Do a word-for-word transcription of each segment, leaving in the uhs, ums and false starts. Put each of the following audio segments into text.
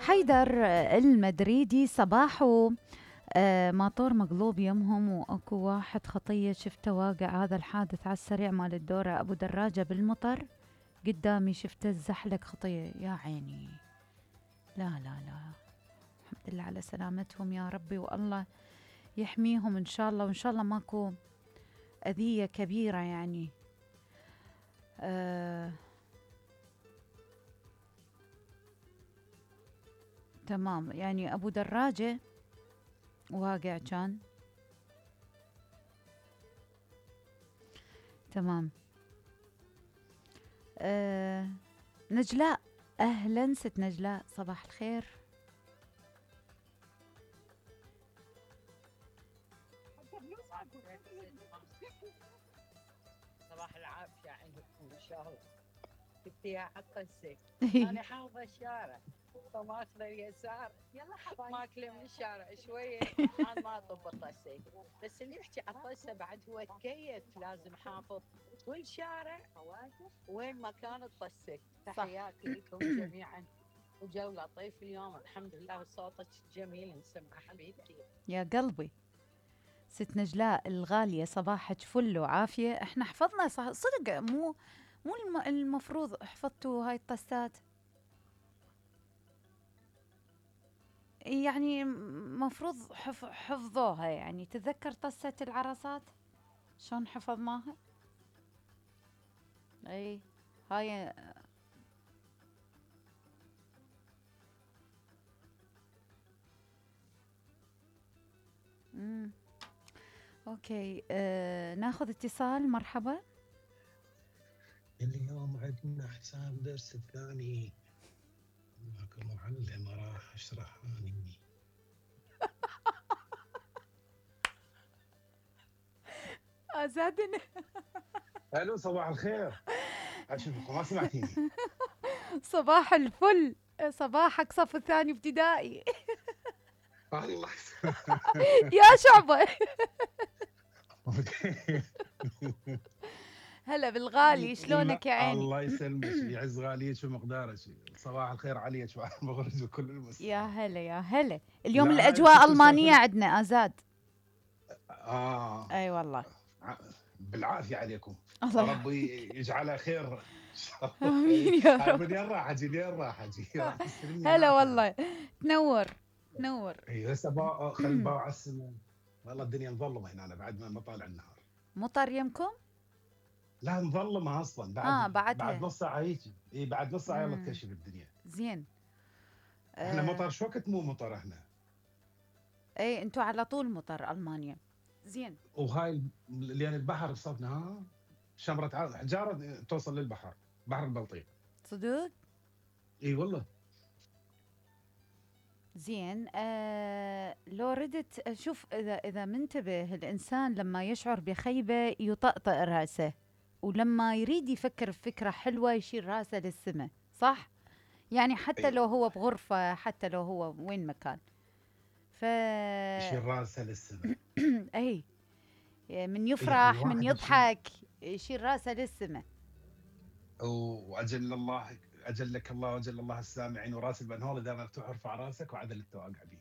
حيدر المدريدي صباحو آه ماطور مقلوب يمهم واكو واحد خطية شفته واقع. هذا الحادث على السريع مال الدورة ابو دراجة بالمطر قدامي شفته الزحلق خطية يا عيني. لا لا لا الحمد لله على سلامتهم يا ربي والله يحميهم ان شاء الله وان شاء الله ماكو اذية كبيرة يعني. آه تمام يعني ابو دراجة واقع كان تمام. آه نجلاء اهلا ست نجلاء صباح الخير. صباح العافية عندكم ان شاء الله. جبتيها حتى السك. انا حافظة الشارع فماخذة اليسار يلا حبايبي ماكله من الشارع شوية انا ما اطب الطسة بس اللي يحكي على الطسة بعد هو تكيف لازم حافظ كل شارع وين مكان الطسة. تحياتي لكم جميعا وجو لطيف اليوم الحمد لله وصوتك جميل نسمع حبيبتي يا قلبي. ست نجلاء الغالية صباحك فل وعافية. احنا حفظنا صدق مو مو المفروض حفظتوا هاي الطسات يعني مفروض حف حفظوها يعني. تتذكر طسة العرصات شلون حفظناها؟ اي هاي امم اوكي. آه، ناخذ اتصال. مرحبا. اليوم عندنا حساب درس الثاني ماكو معلم راح اشرحاني. ازادنا. الو صباح الخير. اشوفكم ما سمعتيني. صباح الفل. صباحك صف الثاني ابتدائي. الله يا شعبة. هلا بالغالي شلونك يا عيني؟ الله يسلمك يعز غاليك ومقدارك. صباح الخير عليك وعلى المغرب وكل المسلمين. يا هلا يا هلا. اليوم الاجواء المانيه عندنا ازاد. اه اي والله بالعافيه عليكم. الله ربي يجعلها خير. امين يا رب. منين راح اجي منين راح اجي. هلا والله تنور تنور. اي هسه باع خل باع على السماء. والله الدنيا مظلمه هنا أنا بعد ما طالع النهار. مطر يمكم؟ لا مظلمه اصلا بعد اه بعد بعد نص ساعه هيك. اي بعد نص ساعه يلا تكشف الدنيا. زين. احنا آه. مطر شو وقت مو مطر احنا. اي انتوا على طول مطر المانيا. زين. وهاي لان البحر صدنا ها شمره حجاره توصل للبحر بحر البلطيق. صدق؟ اي والله. زين. آه لو ردت شوف اذا اذا منتبه الانسان لما يشعر بخيبه يطأطئ راسه ولما يريد يفكر بفكره حلوه يشيل راسه للسماء صح؟ يعني حتى لو هو بغرفه حتى لو هو وين مكان. ف يشيل راسه للسماء. اي من يفرح يعني من يضحك يشيل راسه للسماء. واجل الله اجلك الله واجل الله السامعين وراس البنهول اذا مفتوح ارفع راسك وعدل التواقع به.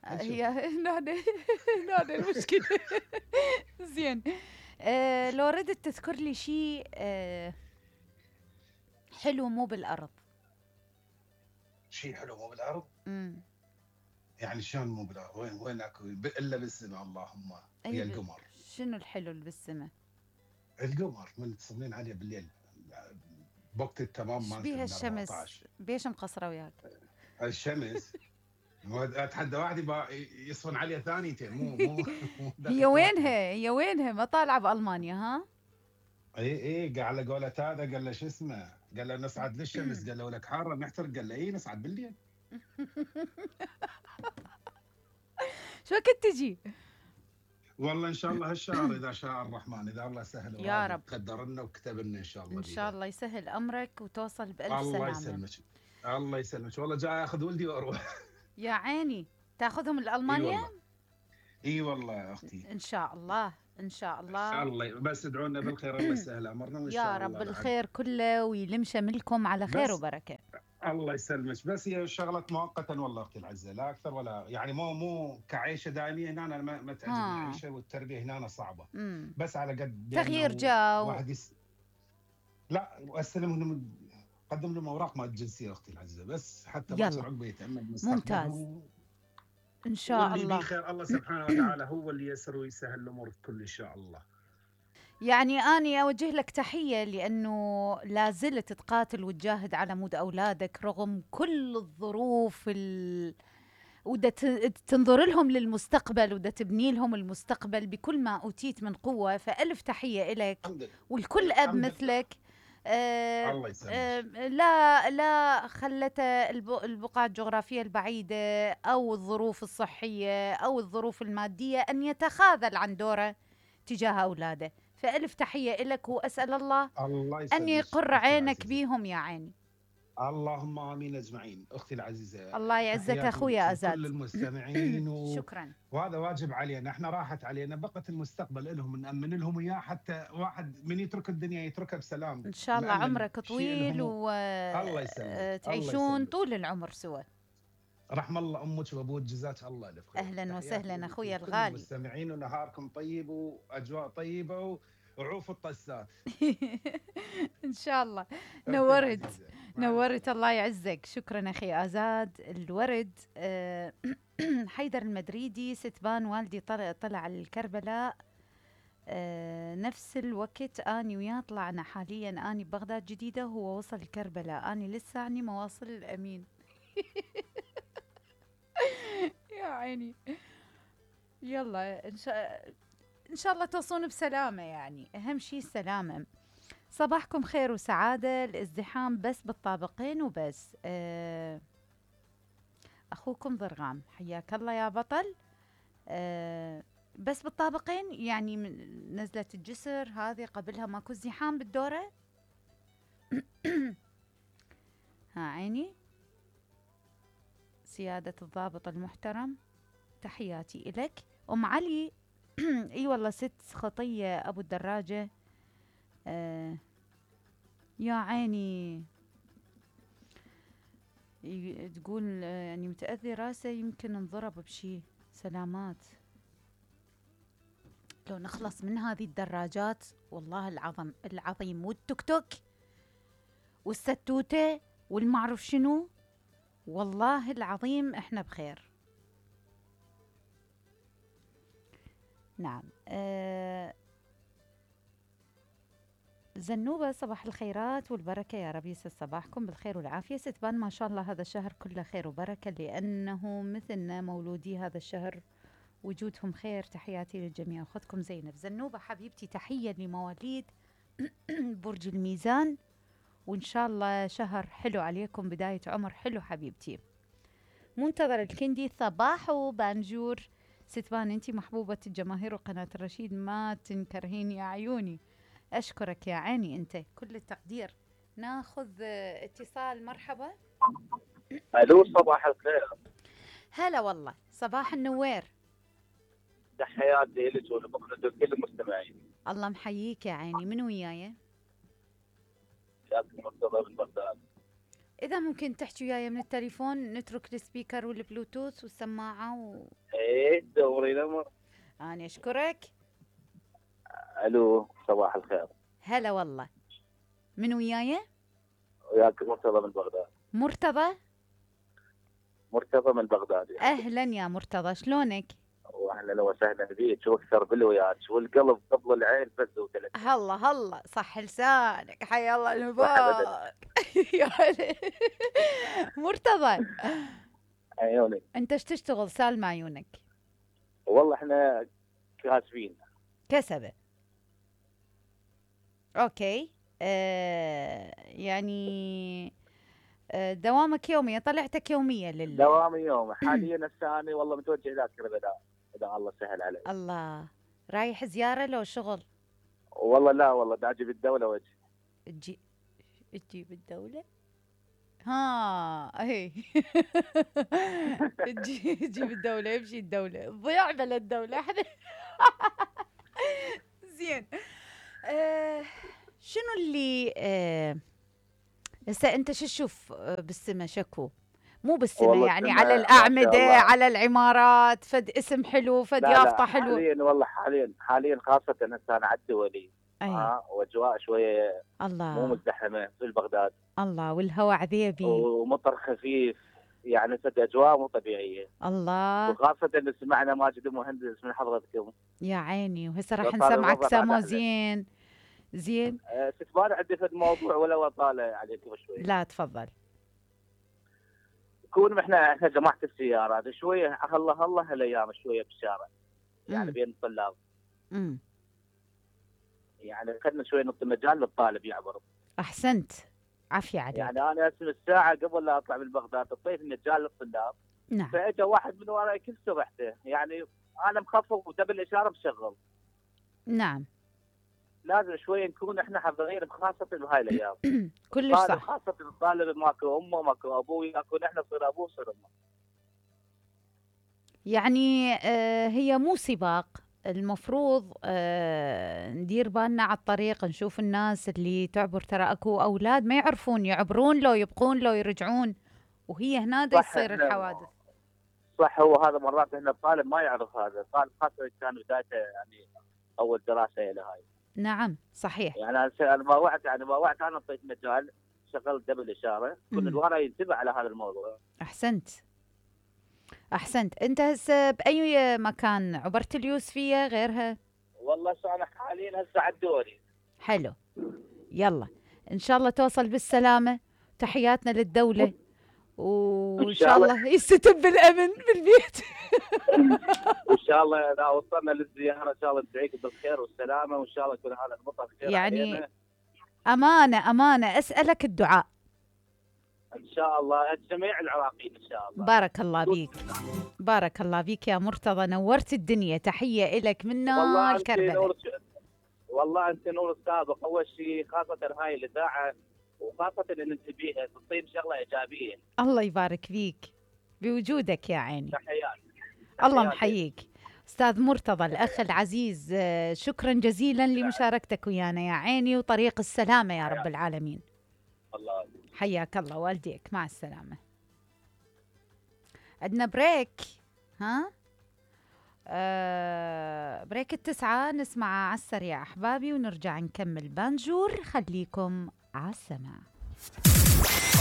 هي هنا هنا المشكله. زين. آه لو ردت تذكر لي شيء آه حلو مو بالارض. شيء حلو مو بالارض؟ امم يعني شلون مو بالارض؟ وين وين اكو الا بالسماء اللهم. هي القمر. شنو الحلو اللي بالسماء؟ القمر من تصلين عليه بالليل بوقت التمام مالته. بيها الشمس بيش مقصره وياك؟ الشمس اتحدى واحد يصفن عليه ثانيتين مو مو هي وينها هي وينها ما طالعه بالمانيا ها؟ اي اي قال على قولة هذا قال له شو اسمه؟ قال له نصعد للشمس قال له ولك حاره نحترق قال له اي نصعد بالليل. شو وقت تجي؟ والله ان شاء الله هالشهر اذا شاء الرحمن اذا الله سهل يا رب قدر لنا وكتب لنا ان شاء الله. ان شاء الله يسهل امرك وتوصل بالف سلامه. الله يسلمك الله يسلمك. والله جاي اخذ ولدي واروح. يا عيني تاخذهم لالمانيا؟ اي والله اي والله يا اختي. ان شاء الله ان شاء الله ان شاء الله بس ادعوا لنا بالخير الله يسهل امرنا وان شاء الله. يا رب الخير كله ويلم شملكم على خير وبركه. الله يسلمك، بس هي شغله مؤقتا والله اختي العزه، لا اكثر ولا يعني، مو مو كعيشه دائميه هنا. انا ما, ما تعجبني ها. العيشه والتربيه هنا صعبه. امم بس على قد تغيير بانه جو. واحد يس... لا واستلم لهم، قدم لهم اوراق مال الجنسيه اختي العزه، بس حتى باكر يلا عقبه يتامل ممتاز. مستقبلهم. ان شاء واللي بيه الله. خير الله سبحانه وتعالى هو اللي يسر ويسهل الامور الكل ان شاء الله. يعني أني أوجه لك تحية لأنه لا زلت تقاتل وتجاهد على مود أولادك رغم كل الظروف ال... ودا ت- تنظر لهم للمستقبل ودا تبني لهم المستقبل بكل ما أوتيت من قوة، فألف تحية إلك الحمد لله. والكل أب الحمد لله. مثلك. آه الله يسلمك. آه لا لا خلت الب- البقعة الجغرافية البعيدة أو الظروف الصحية أو الظروف المادية أن يتخاذل عن دوره تجاه أولاده، فألف تحية إلك وأسأل الله الله أن يسلمك يقر اختي عينك العزيزه. بيهم يا عيني. اللهم امين اجمعين اختي العزيزه. الله يعزك تحياتي أخويا لكل أزاد. المستمعين و... شكرا. وهذا واجب علينا، احنا راحت علينا، بقت المستقبل لهم نامن لهم اياه، حتى واحد من يترك الدنيا يتركها بسلام. إن شاء الله مأمن عمرك شيء طويل لهم. الله يسلمك. الله وتعيشون يسلمك. طول العمر سوا. رحم الله امك وابوك، جزاك الله الف خير. أهلا تحياتي وسهلا لكم أخويا كل الغالي. المستمعين، ونهاركم طيب واجواء طيبه وعوف الطسات. إن شاء الله. أختي نورت العزيزة. مع نورت السلامة. الله يعزك. شكرا أخي آزاد الورد. آه، حيدر المدريدي ستبان والدي طلع طلع الكربلاء آه، نفس الوقت اني وياه طلعنا، حاليا اني ببغداد جديده وهو وصل الكربلاء، اني لسه اني ما واصل الامين. يا عيني. يلا ان شاء ان شاء الله توصلون بسلامه، يعني اهم شيء السلامه. صباحكم خير وسعاده، الازدحام بس بالطابقين وبس. آه، اخوكم ضرغام، حياك الله يا بطل. آه، بس بالطابقين يعني من نزلة الجسر هذه قبلها ماكو ازدحام بالدورة. ها عيني سيادة الضابط المحترم، تحياتي إلك. أم علي اي والله ست خطية أبو الدراجة. آه يا عيني ي- تقول آه، يعني متأذي راسه يمكن انضرب بشي. سلامات. لو نخلص من هذه الدراجات والله العظم العظيم، والتوك توك والستوتة والمعرف شنو، والله العظيم احنا بخير. نعم. آه زنوبة صباح الخيرات والبركة، يا رب يسعد صباحكم بالخير والعافية. ستبان ما شاء الله هذا الشهر كله خير وبركة، لأنه مثلنا مولودي هذا الشهر وجودهم خير. تحياتي للجميع. أخذكم زينب. زنوبة حبيبتي تحية لمواليد برج الميزان، وإن شاء الله شهر حلو عليكم، بداية عمر حلو حبيبتي. منتظر الكندي صباح وبانجور. ستبان انتي محبوبة الجماهير وقناة الرشيد، ما تنكرهين يا عيوني. أشكرك يا عيني أنت، كل التقدير. ناخذ آه، اتصال. مرحبا. الو صباح الخير. هلا والله صباح النوير. تحياتي لك ولبقرة كل المستمعين. الله محييك يا عيني. من وياي؟ شاكر مرتضى من بغداد. إذا ممكن تحكي وياي من التليفون، نترك السبيكر والبلوتوث والسماعة و... ايه دوري الامر. أنا أشكرك. الو صباح الخير. هلا والله. من وياي؟ وياك مرتضى من بغداد. مرتضى. مرتضى من بغداد. أهلا يا مرتضى، شلونك؟ واهلا وسهلا بيك، واكثر بالوياك والقلب قبل العين فز وثلاث. هلا هلا صح لسانك، حيا الله صح المبارك. يا هلا. مرتضى عيوني. انت ايش تشتغل؟ سالم عيونك. والله احنا كاسبين. كسبة. اوكي. آه يعني آه دوامك يومية، طلعتك يومية لل دوامي يوم حاليا الثاني، والله متوجه الى كربلاء اذا الله سهل علي. الله. رايح زيارة لو شغل؟ والله لا والله داجي بالدوله وجه. تجي تجيب الدولة؟ ها هي. تجي تجيب الدولة، يمشي الدولة، ضيع بلا الدولة احنا. زين. آه شنو اللي آه هسه انت شو تشوف آه، بالسما شكو؟ مو بالسما والله يعني السما على ما شاء الأعمدة، الله. على العمارات، فد اسم حلو، فد لا يافطة لا حلوة. حاليا والله حاليا حاليا خاصة هسه أنا على الدولي. أي اه واجواء شويه مو الله مزدحمه في بغداد، الله، والهواء عذيبي. ومطر خفيف، يعني صدق اجواء مو طبيعيه. الله وخاصه ان سمعنا ماجد المهندس من حضرتكم. يا عيني، وهسه راح فصار نسمعك الوضع سمو بعد أحلى. زين زين. أه ستبان عندي في الموضوع ولا اطاله عليكم شوي؟ لا تفضل. كون احنا احنا جماعه السيارات شويه هلا هلا هالايام شويه بالشارع، يعني مم. بين الطلاب، امم يعني خلنا شوي نعطي مجال للطالب يعبر. احسنت، عافية عليك. يعني انا اسم الساعه قبل لا اطلع من بغداد اعطيت مجال للطلاب، نعم فاجى واحد من وراي كيف سرحته، يعني انا مخفف ودبل الاشاره مشغل. نعم لازم شوي نكون احنا حذرين خاصه بهاي الايام. كلش طالب صح. خاصه الطالب ماكو امه ماكو ابوه، يكون احنا نصير ابوه نصير امه. يعني آه هي مو سباق، المفروض آه ندير بالنا على الطريق، نشوف الناس اللي تعبر، ترى اكو اولاد ما يعرفون يعبرون لو يبقون لو يرجعون، وهي هنا دا صح، يصير إحنا- الحوادث. صح، هو هذا مرات احنا الطالب ما يعرف هذا، الطالب خاصه كان بدايته يعني اول دراسه له هاي. نعم صحيح. يعني انا انا ما وعدت يعني ما وعدت انا اعطيت مجال، شغلت دبل اشاره، كل مم. الورا ينتبه على هذا الموضوع. احسنت احسنت. انت هسه باي مكان عبرت اليوسفيه غيرها؟ والله شو انا حاليا هسه على الدوري. حلو، يلا ان شاء الله توصل بالسلامه، تحياتنا للدوله، وان إن شاء شاء الله يستتب بالامن بالبيت. وان شاء الله اذا وصلنا للزياره ان شاء الله ندعيكم بالخير والسلامه، وان شاء الله يكون هذا المطر خير يعني علينا. امانه امانه اسالك الدعاء. ان شاء الله جميع العراقيين ان شاء الله. بارك الله بيك، بارك الله بيك يا مرتضى، نورت الدنيا، تحيه لك من والله نار انت كربلاء. نور، والله انت نور السابق. اول شيء خاصه هاي الاذاعه، وخاصه ان انت بيها تصيب شغله ايجابيه. الله يبارك فيك بوجودك يا عيني. تحيات. الله تحياتي. محييك استاذ مرتضى الاخ العزيز، آه، شكرا جزيلا لمشاركتك ويانا يا عيني، وطريق السلامه يا رب العالمين. الله حياك الله والديك، مع السلامه. عندنا بريك، ها آه بريك التسعة، نسمع على السريع أحبابي ونرجع نكمل بانجور. خليكم على السماع.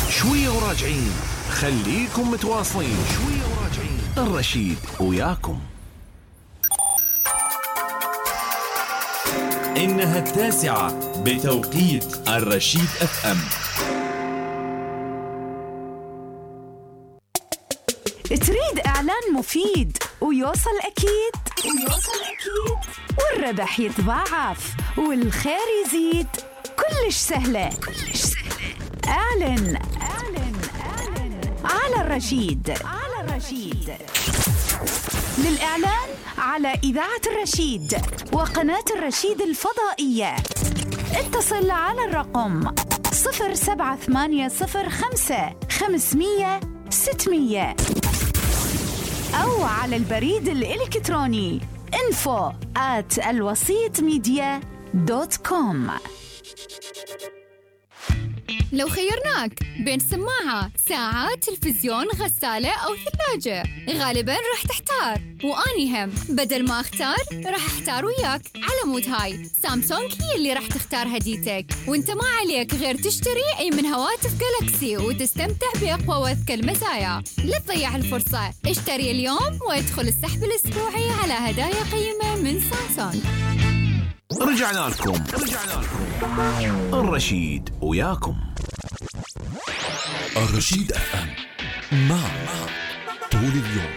شوية وراجعين، خليكم متواصلين. شوية وراجعين، الرشيد وياكم. إنها التاسعة بتوقيت الرشيد اف ام. تريد إعلان مفيد ويوصل أكيد ويوصل أكيد والربح يتضاعف والخير يزيد؟ كلش سهلة كلش سهلة. اعلن اعلن اعلن على الرشيد على الرشيد. للإعلان على إذاعة الرشيد وقناة الرشيد الفضائية اتصل على الرقم صفر سبعة ثمانية صفر خمسة خمسمية ستمية أو على البريد الإلكتروني info at الوسيط ميديا دوت كوم. لو خيرناك بين سماعة، ساعة، تلفزيون، غسالة أو ثلاجة، غالباً راح تحتار، وأني هم بدل ما أختار راح أحتار وياك. على مود هاي سامسونج هي اللي راح تختار هديتك، وانت ما عليك غير تشتري أي من هواتف جالكسي وتستمتع بأقوى وأذكى المزايا. لا تضيع الفرصة، اشتري اليوم وادخل السحب الأسبوعي على هدايا قيمة من سامسونج. رجعنا لكم رجعنا لكم الرشيد وياكم. الرشيد اف ام، معك طول اليوم.